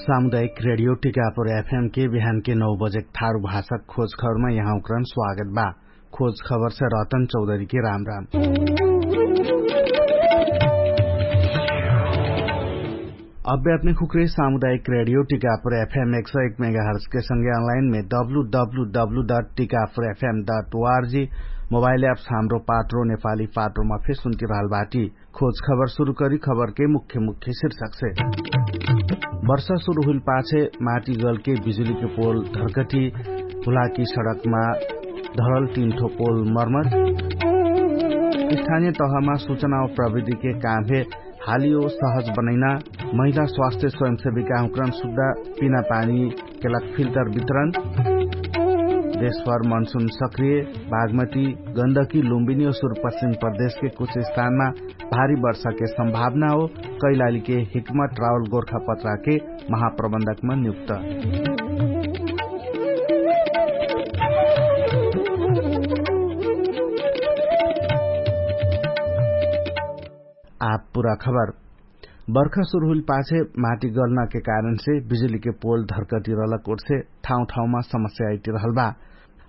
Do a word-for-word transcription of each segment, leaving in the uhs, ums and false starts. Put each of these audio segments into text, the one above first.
सामुदायिक रेडियो टिकापुर एफएम के बिहान के नौ बजेक थारु भाषक खोज खबरमा यहाँ उक्रन स्वागत बा। खोज खबर से रतन चौधरी के राम राम। अब्बे अपने खुक्रे सामुदायिक रेडियो टिकापुर एफएम एक सौ एक मेगाहर्ज के संगे अनलाइन में W W W dot Tikapur FM dot ORG mobile apps Hamro Patro नेपाली पात्रोमा फेर सुन्ति रहल बाटी। खोज खबर सुरु करी खबर के मुख्य मुख्य शीर्षक से। वर्षा सुरु हुइल पाछे माटी गल के बिजुली के पोल धरकटी हुलाकी सडकमा धरल तीन ठो पोल मर्मत। स्थानीय तहमा सुचना प्रविधि के काम हे हालियो सहज बनैना। महिला स्वास्थ्य स्वयंसेविका हुक्रन सुद्धा पिना पानी केलक फिल्टर वितरण। देशभर मनसुन सक्रिय बागमती गन्दकी लुम्बिनी और सुरपश्चिम प्रदेश के कुछ स्थानमा भारी वर्षा के सम्भावना हो। कैलाली के हिकमत रावल गोर्खा पत्रा के महाप्रबन्धकमा नियुक्त। आप पुरा खबर। बर्खा सुरु हुइल पाछे माटी गल्ना के कारणसे बिजुली के पोल धर्कटी रहलक ओर्से ठाउँ ठाउँमा समस्या आइटी रहल बा।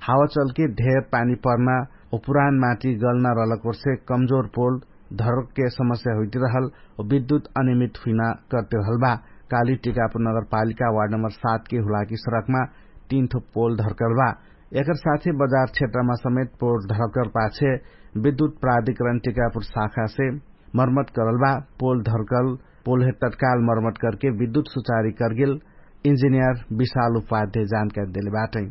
हावा चलके ढेर पानी पर्ना और पुरान माटी गल्ना रहलक ओर्से कमजोर पोल धर्क के समस्या हुइटी रहल और विद्युत अनियमित हुइना करते रहल बा। काली टिकापुर नगरपालिका वार्ड नम्बर सात के हुलाकी सडकमा तीन थो पोल धर्कल बा। एकर साथे बजार क्षेत्रमा समेत पोल धर्कल पाछे विद्युत प्राधिकरण टिकापुर शाखासे मर्मत करल बा। पोल धर्कल पोलहे तत्काल मर्मत करके विद्युत सुचारी करगेल इन्जिनियर विशाल उपाध्याय जानकारी देले बाटै।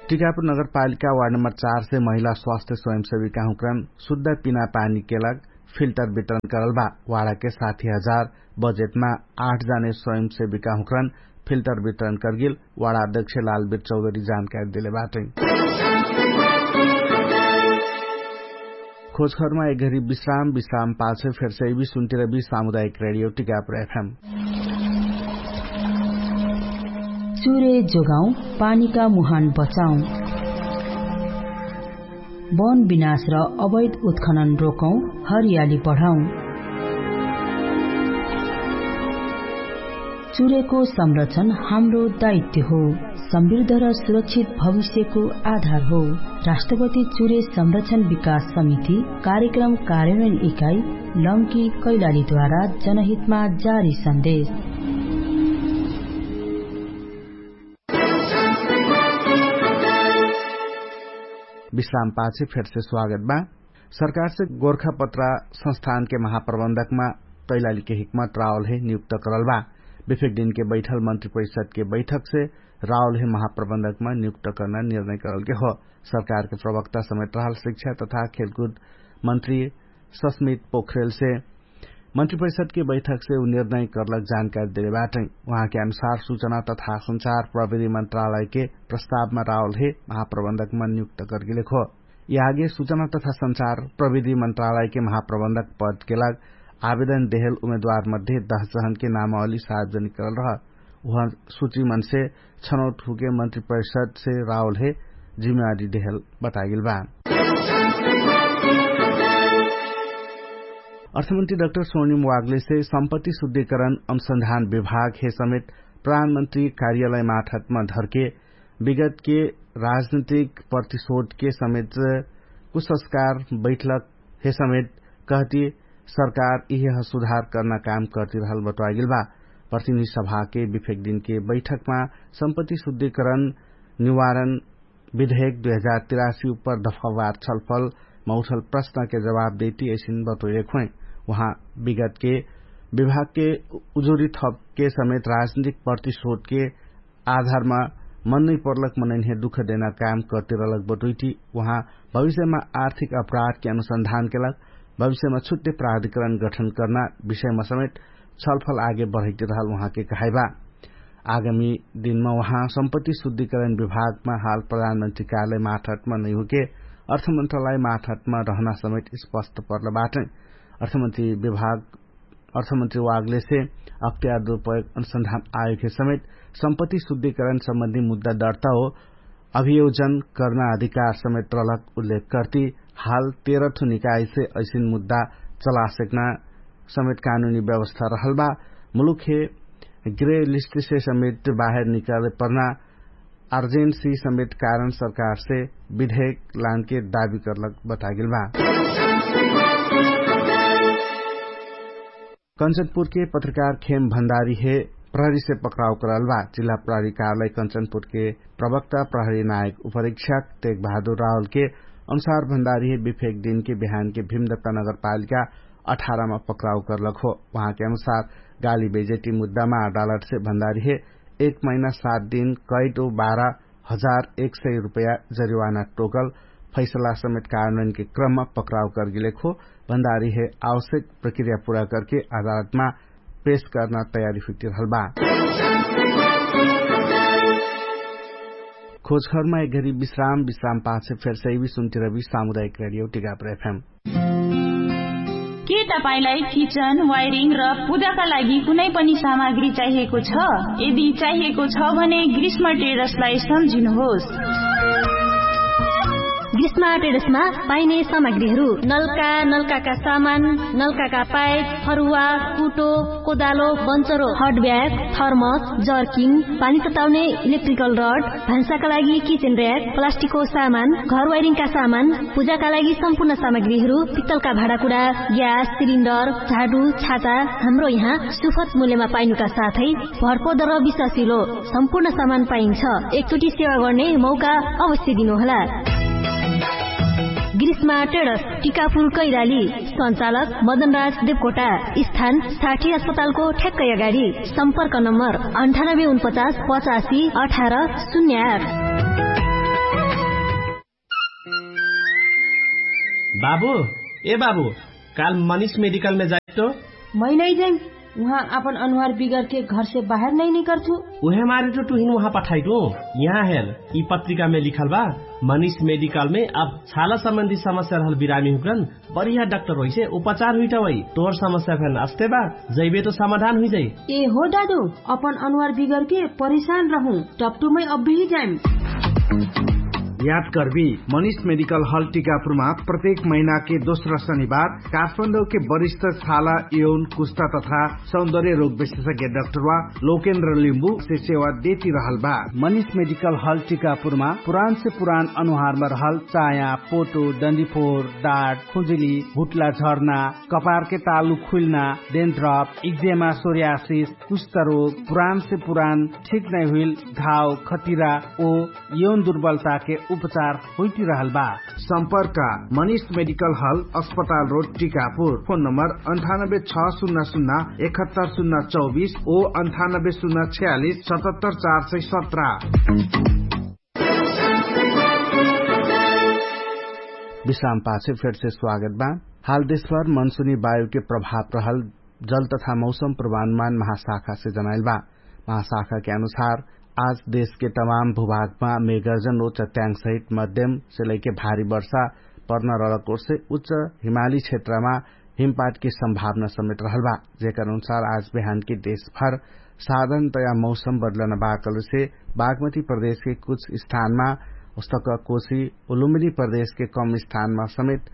टिकापुर नगरपालिका वार्ड नम्बर चार से महिला स्वास्थ्य स्वयंसेविका हुक्रन शुद्ध पिना पानी केलक फिल्टर वितरण करल बा। वाडा के साथी हजार बजेटमा आठ जाने स्वयंसेविका हुक्रन फिल्टर वितरण करगेल वाडा अध्यक्ष लालबीर चौधरी जानकारी देले बाटै। खोजखरमा एक घरी विश्राम विश्राम पाछे फेरसे इबी सुन्तिर बी सामुदायिक रेडियो टिकापुर एफएम। चुरे जोगाउँ, पानीका मुहान बचाउँ। वन विनाश र अवैध उत्खनन रोकौँ, हरियाली बढाउँ। चुरेको संरक्षण हाम्रो दायित्व हो, समृद्ध र सुरक्षित भविष्यको आधार हो। राष्ट्रपति चुरे संरक्षण विकास समिति कार्यक्रम कार्यान्वयन इकाइ लम्की कैलालीद्वारा जनहितमा जारी सन्देश। विश्राम पाछे फेरसे स्वागत बा। सरकारसे गोर्खापत्रा संस्थानके महाप्रबन्धकमा कैलालीके हिकमत रावलहे नियुक्त करल बा। विफेक दिनके बैठल मन्त्री परिषदके बैठकसे रावलहे महाप्रबन्धकमा नियुक्त कर्ना निर्णय करलके हो। सरकारके प्रवक्ता समेत रहल शिक्षा तथा खेलकुद मन्त्री सस्मित पोखरेलसे मन्त्री परिषदके बैठकसे उ निर्णय करलक जानकारी देले बाटै। उहाँके अनुसार सुचना तथा संचार प्रविधि मन्त्रालयके प्रस्तावमा रावलहे महाप्रबन्धकमा नियुक्त करगेलेक हो। यि आगे सुचना तथा संचार प्रविधि मन्त्रालयके महाप्रबन्धक पदके लाग आवेदन देहेल उमेदवार मध्ये दस जहनके नामावली सार्वजनिक करल रह। उहाँ सुची मनसे छनौट हुके मन्त्री परिषदसे रावलहे जिम्मेवारी देहेल बतागेल बा। अर्थमन्त्री डाक्टर सोनिम वागलेसे सम्पत्ति शुद्धिकरण अनुसन्धान विभागहे समेत प्रधानमन्त्री कार्यालय माठतमा धर्के विगतके राजनैतिक प्रतिशोधके समेत कुसंस्कार बैठलकहे समेत कहती सरकार इहे सुधार कर्ना काम कर्तिरहल बटोवागेल बा। प्रतिनिधि सभाके विफेक दिनके बैठकमा सम्पत्ति शुद्धिकरण निवारण विधेयक दुई हजार तिरासी उप्पर दफावार छलफलमा उठल प्रश्नके जवाब देती ऐसिन बटोइरेक होइ। उहाँ विगतके विभागके उजुरी थपके समेत राजनैतिक प्रतिशोधके आधारमा मन नैपर्लक मनैन्हे दुख देना काम कर्तिरलक बटोइटी। उहाँ भविष्यमा आर्थिक अपराधके अनुसन्धानके लग भविष्यमा छुट्टे प्राधिकरण गठन कर्ना विषयमा समेत छलफल आगे बढैतिरहल उहाँके कहाइबा। आगामी दिनमा उहाँ सम्पत्ति शुद्धिकरण विभागमा हाल प्रधानमन्त्री कार्यालय माठतमा नैहुके अर्थमन्त्रालय माठतमा रहना समेत स्पष्ट पर्ल बाटै। अर्थमन्त्री विभाग अर्थमन्त्री वागलेसे अख्तियार दुरुपयोग अनुसन्धान आयोगके समेत सम्पत्ति शुद्धिकरण सम्बन्धी मुद्दा दर्ता हो अभियोजन कर्ना अधिकार समेत रलक उल्लेख कर्ती हाल तेह्र ठु निकाइसे ऐसिन मुद्दा चलासेक्ना समेत कानुनी व्यवस्था रहल बा। मुलुक हे ग्रे लिस्ट से समेत बाहेर निकाले पर्ना अर्जेन्सी समेत कारण सरकार से विधेक लानके दाबी करलक बतागेल बा। कन्चनपुर के पत्रकार खेम भण्डारी हे प्रहरी से पक्राउ करल बा। जिल्ला प्रहरी कार्यालय कन्चनपुर के प्रवक्ता प्रहरी नायक उपरीक्षक तेग बहादुर राहुल के अनुसार भण्डारी हे विफेक दिन के बिहान के भीमदत्ता नगरपालिका अठारमा पक्राउ करलक हो। उहाँके अनुसार गाली बेजेटी मुद्दामा अडालट से भण्डारी हे एक महिना सात दिन कैट उ बाह्र हजार एक सय रुपैया जरिवाना टोकल फैसला समेत कारणके क्रममा पक्राउ करगेलेक हो। भण्डारी हे आवश्यक प्रक्रिया पुरा करके अदालतमा पेश कर्ना तयारी हुइटिरहल बा। खोजखरमा एक घरी विश्राम विश्राम पाछे फेर सैवी सुन्टिरबी सामुदायिक रेडियो टिकापुर एफएम। के तपाईंलाई किचन वायरिङ र पूजाका लागि कुनै पनि सामग्री चाहिएको छ? यदि चाहिएको छ भने ग्रीष्म ट्रेडर्सलाई सम्झिनुहोस्। ग्रीष्म ट्रेडर्समा पाइने सामग्रीहरू नल्का, नल्काका सामान, नल्काका पाइप, फरुवा, कुटो, कोदालो, बन्चरो, हट ब्याग, थर्मस, जर्किङ, पानी तताउने इलेक्ट्रिकल रड, भान्साका लागि किचन र्‍याक, प्लास्टिकको सामान, घर वायरिङका सामान, पूजाका लागि सम्पूर्ण सामग्रीहरू, पित्तलका भाँडाकुँडा, ग्यास सिलिन्डर, झाडु, छाता, हाम्रो यहाँ सुपथ मूल्यमा पाइनुका साथै भरपर्दो र विश्वासिलो सम्पूर्ण सामान पाइन्छ। एकचोटि सेवा गर्ने मौका अवश्य दिनुहोला। ग्रीष्मा ट्रेडर्स, टिकापुर कैलाली। सञ्चालक मदनराज देवकोटा। स्थान साठी अस्पतालको ठ्याक्कै अगाडि। सम्पर्क नम्बर अन्ठानब्बे उनपचास पचासी अठार शून्य आठ। बाबु, ए बाबु, काल मनिष मेडिकलमे जाइतो? मै नै जाइम। उहाँ आपन अनुहार बिगरके घरसे बाहेर नै निकरथु। उहे मारे तो टुहिन उहाँ पठाइटु। यहाँ हेर, यि पत्रिकामे लिखल बा, मनिष मेडिकलमे अब छाला सम्बन्धी समस्या रहल बिरामी हुकरन बढिया डाक्टर होइसे उपचार हुइटा वइ। तोर समस्या फेन अस्ते बा, जैबे तो समाधान हुइजाइ। ए हो दादु, अपन अनुहार बिगरके परेशान रहु, टपटुमै अब्बेही जाइम। याद करबी, मनिष मेडिकल हल टिकापुरमा प्रत्येक महिनाके दोस्रा शनिबार काठमाडौके वरिष्ठ छाला यौन कुस्ता तथा सौन्दर्य रोग विशेषज्ञ डाक्टरवा लोकेन्द्र लिम्बु से सेवा देती रहल बा। मनिष मेडिकल हल टिकापुरमा पुरान से पुरान अनुहारमा रहल चाया, पोटो, डन्डीफोर, डाट, खुजुली, भुट्ला झर्ना, कपारके तालु खुइल्ना, डेन्ड्रप, इक्जेमा, सोर्यासिस, कुष्ठरोग, पुरान से पुरान ठीक नै हुइल घाव, खटिरा ओ यौन दुर्बलताके उपचार होइटिरहल बा। सम्पर्क मनिष मेडिकल हल, अस्पताल रोड, टिकापुर। फोन नम्बर अन्ठानब्बे छ सुन्ना सुन्ना एकहत्तर सुन्ना चौबिस ओ अन्ठानब्बे सुन्ना छयालिस सतहत्तर चार सय सत्र। विश्राम पाछे फेरसे स्वागत बा। हाल देशभर मनसुनी वायुके प्रभाव रहल जल तथा मौसम प्रमाणमान महाशाखासे जनाइल बा। महाशाखाके अनुसार आज देशके तमाम भूभागमा मेगर्जन ओ चट्याङसहित मध्यमसे लैके भारी वर्षा पर्न रहलक ओर्से उच्च हिमाली क्षेत्रमा हिमपाटके सम्भावना समेत रहल बा। जेकर अनुसार आज बिहानके देशभर साधनतया मौसम बदलन बाकलसे बागमती प्रदेशके कुछ स्थानमा उस्तक कोशी उलुम्बिनी प्रदेशके कम स्थानमा समेत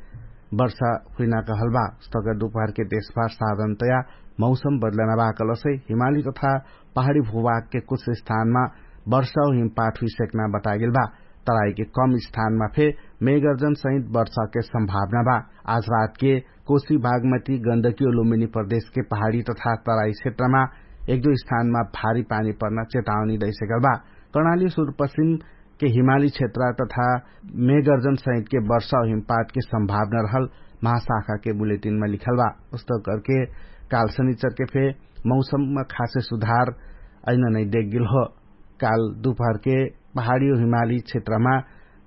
वर्षा हुइना कहल बा। उस्तक दुपहरके देशभर साधनतया मौसम बदलन बाकलसे हिमाली तथा पहाडी भूभागके कुछ स्थानमा वर्षा ओ हिमपाट हुइसेक्ना बतागेल बा। तराइके कम स्थानमा फे मेगर्जन सहित वर्षाके सम्भावना बा। आज रातके कोशी बागमती गन्दकी ओ लुम्बिनी प्रदेशके पहाडी तथा तराई क्षेत्रमा एक दुई स्थानमा भारी पानी पर्ना चेतावनी दैसेकल बा। कर्णाली सुरुपश्चिमके हिमाली क्षेत्र तथा मेगर्जन सहितके वर्षा ओ हिमपाटके सम्भावना रहल महाशाखाके बुलेटिनमा लिखल बा। उस्तक करके काल शनिचरके फे मौसममा खासे सुधार अइना नै देखगेल हो। काल दुपहरके पहाडी ओ हिमाली क्षेत्रमा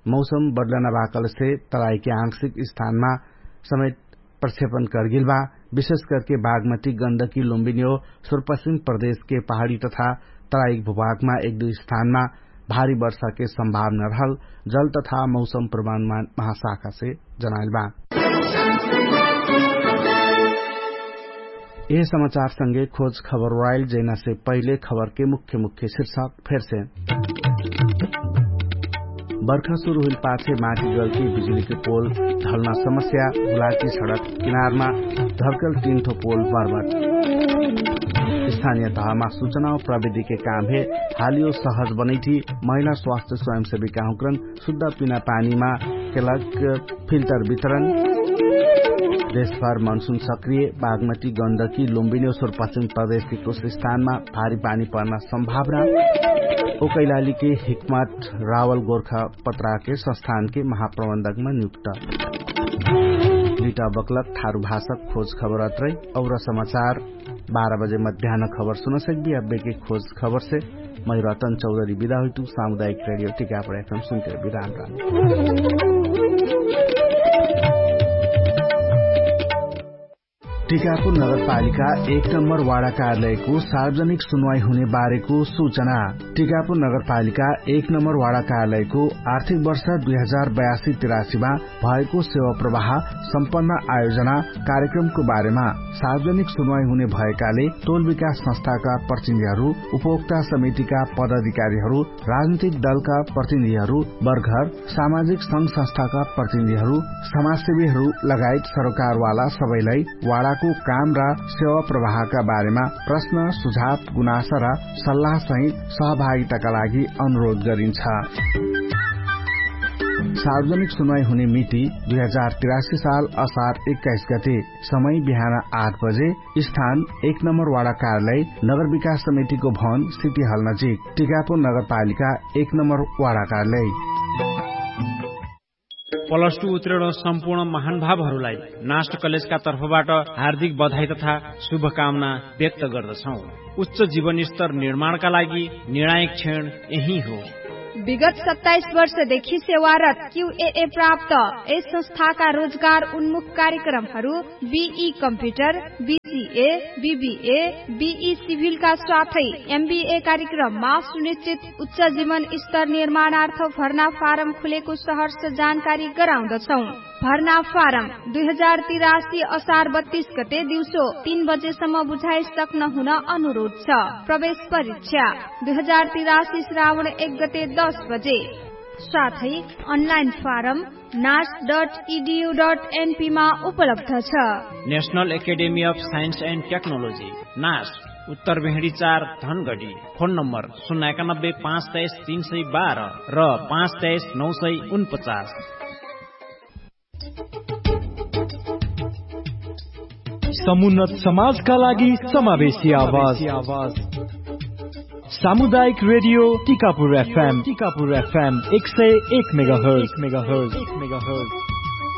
मौसम बदलन बाकलसे तराइके आंशिक स्थानमा समेत प्रक्षेपण करगेल बा। विशेष करके बागमती गन्दकी लुम्बिनी ओ सुरुपश्चिम प्रदेशके पहाडी तथा तराइक भूभागमा एक दुई स्थानमा भारी वर्षाके सम्भावना रहल जल तथा मौसम प्रमाणमान महाशाखासे जनाइल बा। यह समाचार संगे खोज खबर वाइल जैना से पहिले खबर के मुख्य मुख्य शीर्षक फेर से। बर्खा सुरु हुइल पाछे माटी गलके बिजुलीके पोल ढल्ना समस्या, हुलाकी सडक किनारमा धर्कल तिन्ठो पोल बर्बट। स्थानिय तहमा सुचनाओ प्रविधिके काम हे हालियो सहज बनैठी। महिला स्वास्थ्य स्वयंसेविकाहुँक्रन सुद्धा पिना पानीमा केलक फिल्टर वितरण। देशभर मनसुन सक्रिय, बागमती गन्दकी लुम्बिनी उसुर पश्चिम प्रदेशकी कुछ स्थानमा भारी पानी पर्ना सम्भावना। ओकैलालीके हिक्मत रावल गोर्खा पत्राके संस्थानके महाप्रबन्धकमा नियुक्त। लिटा बक्लक ठारु भाषक खोज खबर अत्रै। और समाचार बाह्र बजे मध्यान खबर सुनसक्बी अब्बेके खोज खबरसे मै रतन चौधरी बिदा हुइतु। सामुदायिक रेडियो टिकापुर एफएम सुनके बिराम राम। टिकापुर नगरपालिका एक नम्बर वाडा कार्यालयको सार्वजनिक सुनवाई हुने बारेको सुचना। टिकापुर नगरपालिका एक नम्बर वाडा कार्यालयको आर्थिक वर्ष दुई हजार बयासी तिरासीमा भएको सेवा प्रवाह सम्पन्न आयोजना कार्यक्रमको बारेमा सार्वजनिक सुनवाई हुने भएकाले टोल विकास संस्थाका प्रतिनिधिहरू, उपभोक्ता समितिका पदाधिकारीहरू, राजनीतिक दलका प्रतिनिधिहरू, बर्घर सामाजिक संघ संस्थाका प्रतिनिधिहरू, समाजसेवीहरू लगायत सरोकारवाला सबैलाई वाडाको काम र सेवा प्रवाहका बारेमा प्रश्न, सुझाव, गुनासा र सल्लाहसहित सहभागिताका लागि अनुरोध गरिन्छ। सार्वजनिक सुनवाई हुने मिति दुई हजार तिरासी साल असार एक्काइस गते। समय बिहान आठ बजे। स्थान एक नम्बर वाडा कार्यालय नगर विकास समितिको भवन सिटी हल नजिक। टिकापुर नगरपालिका एक नम्बर वाडा कार्यालय। प्लस टू उत्तीर्ण सम्पूर्ण महानुभावहरूलाई नास्ट कलेजका तर्फबाट हार्दिक बधाई तथा शुभकामना व्यक्त गर्दछौँ। उच्च जीवनस्तर निर्माणका लागि निर्णायक क्षण यही हो। विगत सत्ताइस वर्षदेखि सेवारत क्यूएए प्राप्त यस संस्थाका रोजगार उन्मुख कार्यक्रमहरू बिई कम्प्युटर, बिसिए, बिबिए, बिई सिभिलका साथै एमबिए कार्यक्रममा सुनिश्चित उच्च जीवन स्तर निर्माणार्थ भर्ना फारम खुलेको सहर्ष जानकारी गराउँदछौँ। भर्ना फारम दुई हजार तिरासी असार बत्तीस गते दिउँसो तीन बजेसम्म बुझाइ सक्न हुन अनुरोध छ। प्रवेश परीक्षा दुई हजार तिरासी श्रावण एक गते दस बजे। साथै अनलाइन फारम नास डट इडियु डट एनपीमा उपलब्ध छ। National academy of science and technology, नास, उत्तर भेडी चार, धनगढी। फोन नम्बर शून्य एकानब्बे पाँच तेइस तीन सय बाह्र र पाँच तेइस नौ सय उनपचास। समुन्नत समाजका लागि समावेशी आवाज। सामुदायिक रेडियो टिकापुर एफएम, टिकापुर एफएम एक सय एक मेगाहर्ज, एक मेगाहर्ज, एक मेगाहर्ज।